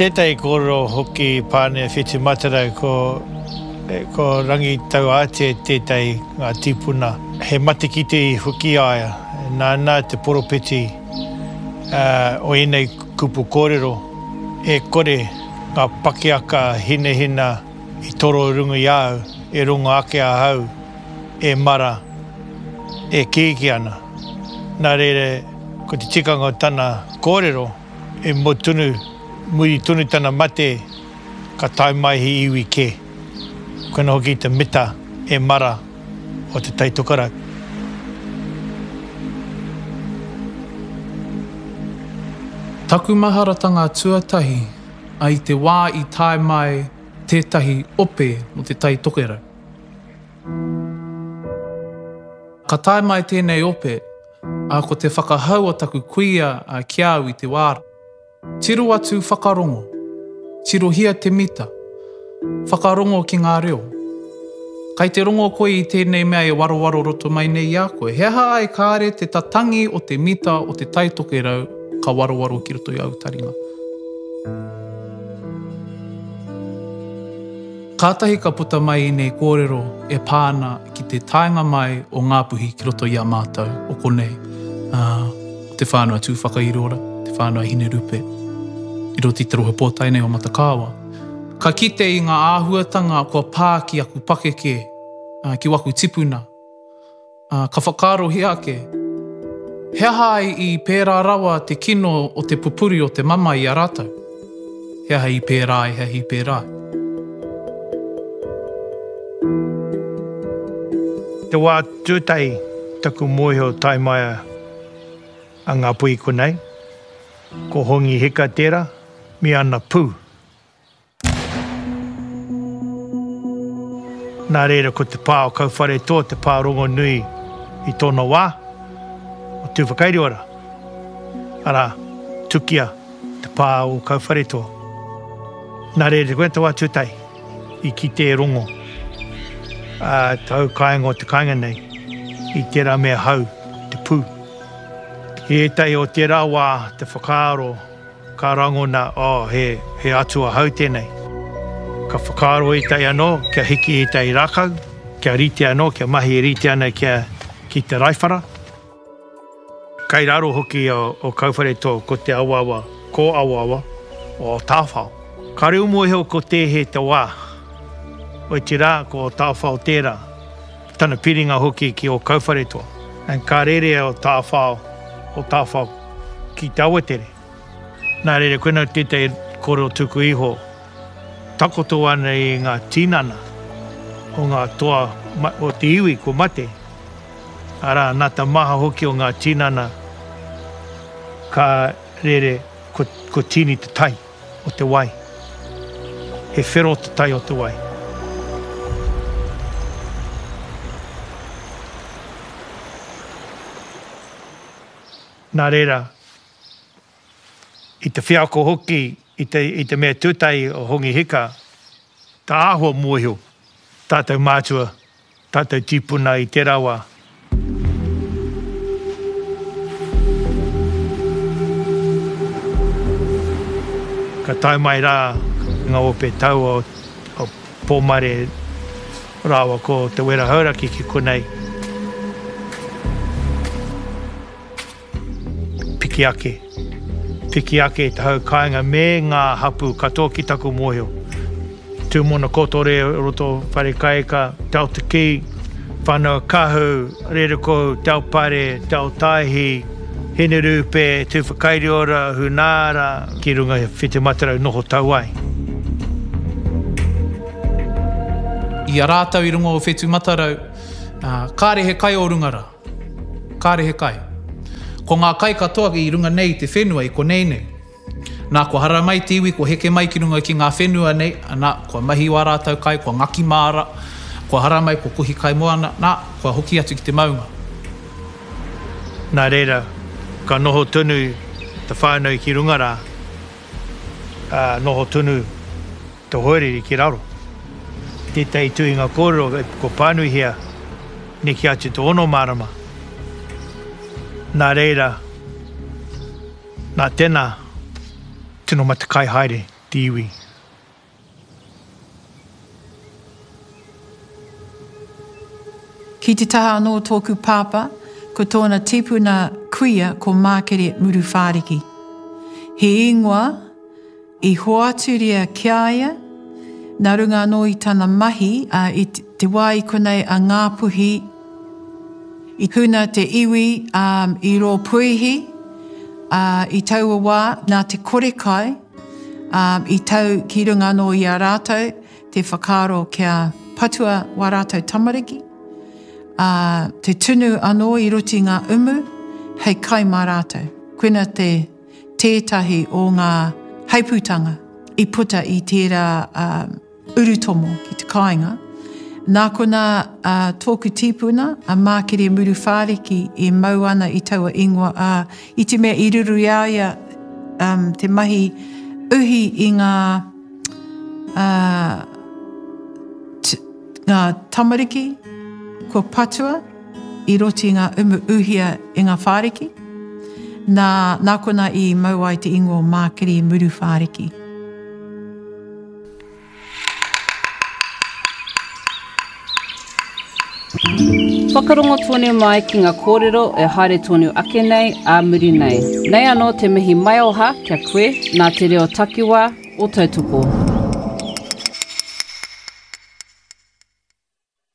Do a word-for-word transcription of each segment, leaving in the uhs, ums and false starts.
Tētahi kōrero hoki pānea Whetumatarau ko, ko Rangitauātea tētahi ngā tīpuna. He matekite i hoki aia, nāna te poropiti uh, o ēnei kupu kōrero, e kore ngā pakiaka hinahina i toro runga i au, e rongo ake ahau, e mara, e kīki ana. Nā reira, ko te tikanga o tana kōrero, e mo tonu, muri tonu tana mate, ka tae mai he iwi kē. Koina hoki te mita e mara o te Tai Tokerau. Taku maharatanga tuatahi ai te wā i tae mai tētahi ope mo te Tai Tokerau. Ka tae mai tēnei ope, a ko te whakahau o taku kuia a ki au i te wā. Tiro atu whakarongo, tirohia te mita, whakarongo ki ngā reo. Kai te rongo koe i tēnei mea e warowaro roto mai nei i a koe. He aha ai kāre te tatangi o te mita o te Tai Tokerau ka warowaro ki roto i au taringa. Kātahi ka puta mai i nei kōrero e pāna ki te taenga mai o Ngāpuhi ki roto i a mātou o konei. Uh, te whānau a Tūwhakairiora, te whānau a Hinerupe, i roto i te rohe pōtae nei o Matakāwa. Ka kite i ngā āhuatanga kua pā ki aku pakeke, uh, ki waku tipuna. Uh, ka whakaarohia ake, he aha ai i pērā rawa te kino o te pupuri o te mama i a rātou? He aha i pērā ai, he aha i pērā ai? Te wā tūtahi taku mōhio tae mai a Ngāpuhi konei, ko Hongi Hika tērā, me ana pū. Nā reira ko te pā o Kauwharetoa, te pā rongonui i tōna wā, o Tūwhakairiora. Arā, tukia te pā o Kauwharetoa. Nā reira, koe te wā tūtahi i kite e rongo. Uh, te hau kāinga o te kāinga nei, i tērā mea hau, te pū. I ētahi o tērā wā, te whakaaro, ka rangona, oh, he, he atua hau tēnei. Ka whakaaro ētahi anō, kia hiki ētahi rākau, kia rite anō, kia mahi e rite ana kia, ki te raiwhara. Kai raro hoki o, o Kauwharetoa ko te awaawa, ko awaawa o Tāwhao. Ka reo mōhio ko tēhe te wā. O te rā, ko Tāwhao tērā. Tana piringa hoki ki o Kauwharetoa. And ka rere o Tāwhao, o Tāwhao ki te awatere. Nā reira, koina tētahi kōrero tuku iho. Takoto ana i ngā tinana o ngā toa o te iwi ko mate. Arā, nā te maha hoki o ngā tinana ka rere ko, ko tini te tai o te wai. He whero te tai o te wai. Nā reira, i te wheako hoki, i te, i te mea tūtahi o Hongi Hika, tā āhua mōhio, tātou mātua, tātou tīpuna i tērā wā. Ka tae mai rā ngā ope taua o, o Pōmare rāua ko Te Wera Hauraki ki konei. Piki ake. Piki ake te hau kāinga me ngā hapū katoa ki taku mōhio. Tūmona Kotore, roto Wharekaika, Te Aotaki, Whānau Kahu, Rerekohu, Te Aopare, Te Aotaihi, Hinerupe, Tūwhakairiora, Hunaara, ki runga Whitimatarau noho tau ai. I a rātou i runga o Whetumatarau, uh, kāre he kai o runga rā. Kāre he kai. Ko ngā kai katoa i runga nei i te whenua, i konei nei. Nā, kua hara mai te iwi, kua heke mai ki runga ki ngā whenua nei, nā, kua mahi wā rātou kai, kua ngaki māra, kua hara mai, kua kohi kai moana, nā, kua hoki atu ki te maunga. Nā reira, ka noho tonu te whānau ki runga rā, ā, noho tonu te hoariri ki raro. Tētahi tuhinga kōrero ko pānuihia neke atu te ono marama. Nā reira, nā tēnā, tino matakai haere te iwi. Ki te taha anō o tōku pāpā, ko tōna tipuna kuia ko Mākere Muruwhāriki. He ingoa i hoaturia ki a ia, nā runga anō i tana mahi, ā, i te wā i konei a Ngāpuhi, i huna te iwi, ā, i rō puihi, ā, i taua wā, nā te kore kai, ā, i tau ki runga anō i a rātou te whakaaro kia patua wā rātou tamariki, ā, te tunu anō i roto i ngā umu hei kai mā rātou. Koina te tētahi o ngā heipūtanga i puta i tērā urutomo ki te kāinga. Nā konā tōku tīpuna, a Mākere Muruwhāriki e mau ana i taua ingoa, ā, i te mea i ruru i a ia te mahi uhi i ngā, ā, ngā tamariki kua patua i roto i ngā umu uhia e ngā whāriki, nā, nā konā i mau ai te ingoa o Mākere Muruwhāriki. Whakarongo tonu mai ki ngā kōrero e haere tonu ake nei ā muri nei. Nei anō te mihi maioha kia koe nā te reo takiwā o Tautoko.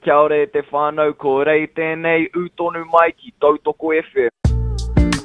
Kia ora e te whānau, ko Rei tēnei, ū tonu mai ki Tautoko FM.